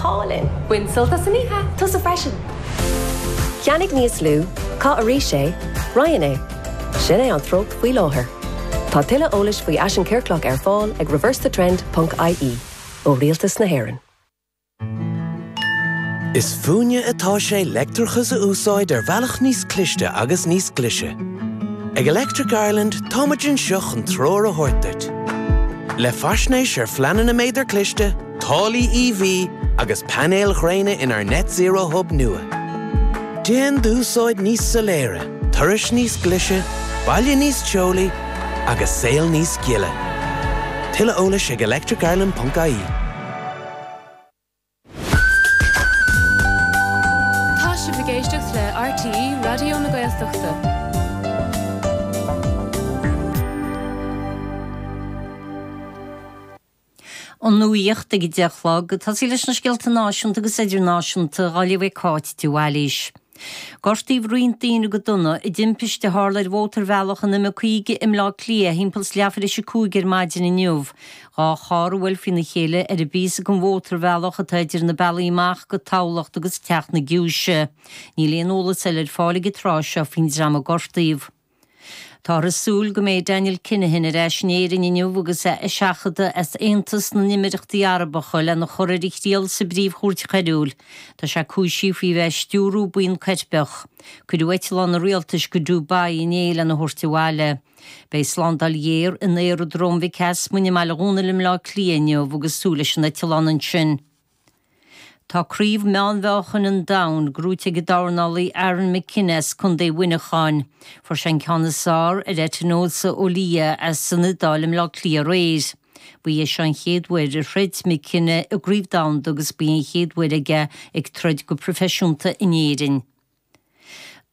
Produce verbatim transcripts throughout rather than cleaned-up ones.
hálainn. Bain sult as an oíche. Tusa freisin. Ceannaigh níos lú, caith arís é, roinn é. Sin é an treocht faoi láthair. Tá tuilleadh eolais faoi fhaisean ciorclach ar fáil ag reversethetrend.ie ó Rialtas na hÉireann. Is fúinne atá sé leictreachas a úsáid ar bhealach níos cliste agus níos glaise. Ag Electric Ireland táimid anseo chun treoir a thabhairt duit. Le faisnéis ar phleananna méadar cliste, táillí EV agus painéil ghréine inár Net Zero Hub nua. Déan d'úsáid níos soiléire, turais níos glaise, baile níos teolaí agus saol níos gile. Tuilleadh eolais ag electricireland.ie. Tá sibh ag éisteacht le RTÉ Raidió na Gaeltachta. An nuacht ag a deich a chlog, tosaí leis na scéalta náisiúnta agus idirnáisiúnta á léamh ag Cáit de Bhailís. Gortaíodh roinnt daoine go dona i dtimpiste a tharla ar mhótarbhealach an M caoga i mBleá Cliath thimpeall is leathuair tar éis a cúig ar maidin inniu. Dhá charr a bhuail faoina chéile ar an bpíosa den mhótarbhealach atá idir na bealaí amach go Tamhlacht agus Teach na Giúise. Níl aon eolas eile ar fáil ag an tráth seo faoin dream a gortaíodh. Táthar ag súil go mbeidh Daniel Kinahan ar ais in Éirinn inniu agus é á sheachadadh as Aontas na nÉimíríochtaí Arabacha lena chur ar a thriail sa bpríomhchúirt choiriúil. Tá sé cúisithe faoi bheith ag stiúradh buíon coirpeach. Cuireadh eitleán an rialtais go Dubai inné lena thabhairt abhaile. Beidh slándáil ghéar in aeradróm Mhic Easmainn i mBaile Dhúnail i mBleá Cliath inniu agus súil leis an eitleán ansin. Tá craobh meánmheáchain an domhain gnóite ag an dornálaí Aaron McKenna as Contae Mhuineacháin. Fuair sé an ceann is fearr ar Etinosa Olia as an Iodáil i mBleá Cliath aréir. Ba é seo an chéad uair a throid McKenna i gcraobh domhanda agus ba í an chéad uair aige ag troid go proifisiúnta in Éirinn.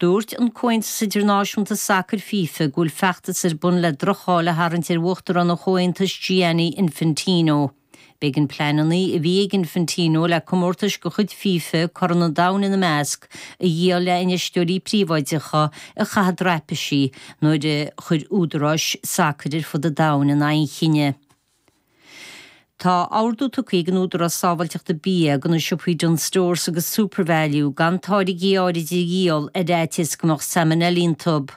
Dúirt an Comhaontas Idirnáisiúnta Sacair FIFA go bhfuil feachtas ar bun le droch-cháil a tharraingt ar uachtarán an Chomhaontais Gianni Infantino. B'éigean pleananna a bhí ag Infantino le comórtais de chuid FIFA Corn an Domhain ina measc a dhíol le infheisteoirí príobháideacha a chaitheamh draipisí nuair a chuir údaráis sacair ar fud an domhain in aghaidh an chinnidh. Tá ordú tugtha ag an Údarás Sábháilteachta Bia do na siopaí Dunnes Stores agus SuperValu gan táirgí áirid a dhíol ar fhaitíos go mbeadh salmonella iontu.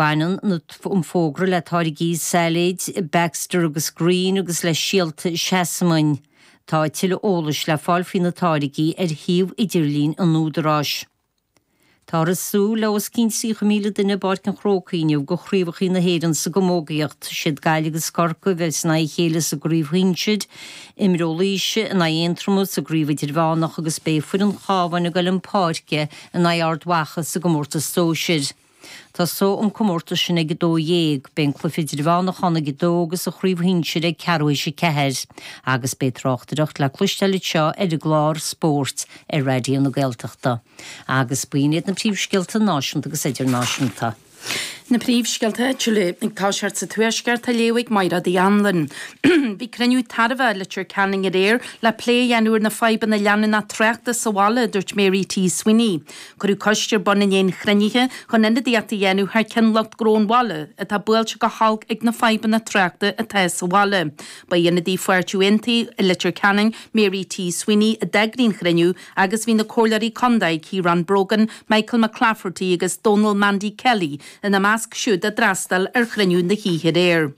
Baineann an fógra le táirgí sailéid Baxter agus Green agus le síolta seasamain. Tá tuilleadh eolais le fáil faoi na táirgí ar shuíomh idirlín an Údaráis. Táthar ag súil le os cionn tríocha míle duine i bPáirc an Chrócaigh inniu do chraobhacha na hÉireann sa gcamógaíocht. Siad Gaillimh agus Corcaigh a bheas in aghaidh a chéile sa gcraobh shinsir, imreoidh Laoise in aghaidh Aontroma sa gcraobh idirmheánach agus beidh foireann Chabháin ag dul chun páirce in aghaidh Ard Mhacha sa gcomórtas sóisir. Tosóidh an comórtas sin ag a dó dhéag, beidh an cluiche idirmheánach ann ag a dó agus an chraobh shinsir ag ceathrú théis a ceathair. Agus beidh tráchtaireacht le cloisteáil anseo ar an gclár spóirt ar Raidió na Gaeltachta. Agus b'in iad na príomhscéalta náisiúnta agus idirnáisiúnta. Na príomhscéalta áitiúla ag toiseacht sa Tuaisceart á léamh ag Mairéad Uí Anluain. Bhí cruinniú tairbhe i Leitir Ceanainn aréir le plé a dhéanamh ar na fadhbanna leanúnach tráchta sa bhaile, a dúirt Mary T. Sweeney. Cuireadh coiste ar bun i ndiaidh an chruinnithe chun ionadaíocht a dhéanamh thar ceann lucht gnó an bhaile atá buailte go holc ag na fadhbanna tráchta atá sa bhaile. Ba í ionadaí Pháirtí Aontaithe i Leitir Ceanainn, Mary T. Sweeney, a d'eagraigh an chruinniú agus bhí na comhairleoirí contae Ciarán Brogan, Michael McClafferty agus Donal Mandy Kelly ina measc siúd a d'fhreastail ar chruinniú na hoíche aréir.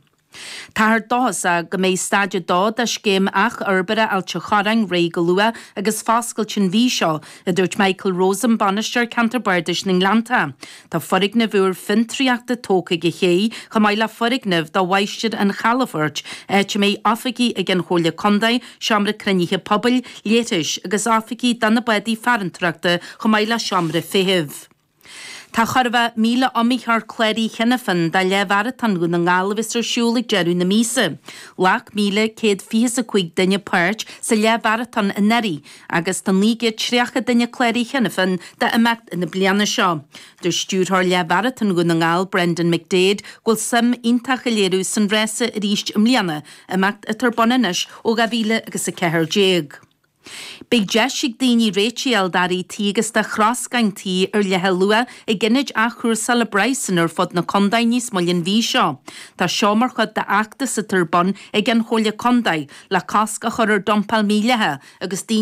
Táthar dóchasach go mbeidh staid a dó de scéim athfhorbartha Ailt an Chorráin réidh go luath agus foscailte an mhí seo, a dúirt Michael Rosen, Bainisteoir Ceantar Bardais na nGleannta. Tá foirgneamh úr fiontraíochta tógtha ag an ché, chomh maith le foirgneamh do Mháistir an Chalafoirt, áit a mbeidh oifigí ag an Chomhairle Contae, seomra cruinnithe pobail, leithris agus oifigí do na bádaí farantóireachta chomh maith le seomra feithimh. Tá chorrmha míle iomaitheoir cláraithe cheana féin do leathmharatón Dhún na nGall a bheas ar siúl ag deireadh na míosa. Ghlac míle céad fiche is a cúig duine páirt sa leathmharatón anuraidh agus tá naoi gcéad tríocha duine cláraithe cheana féin d'imeacht na bliana seo. Dúirt stiúrthóir leathmharatón Dhún na nGall, Brendan McDaid, go bhfuil suim iontach á léiriú san rása arís i mbliana, imeacht atá ar bun anois ó dhá mhíle agus a ceathair déag. Beidh deis ag daoine réitigh a fháil d'earraí tí agus do throscáin tí ar leathluach ag ionaid athchúrsála brabhsanna ar fud na contae níos moille an mhí seo. Tá seo mar chuid d'fheachtas atá ar bun ag an Chomhairle Contae le cosc a chur ar dumpáil mhídhleathach agus daoine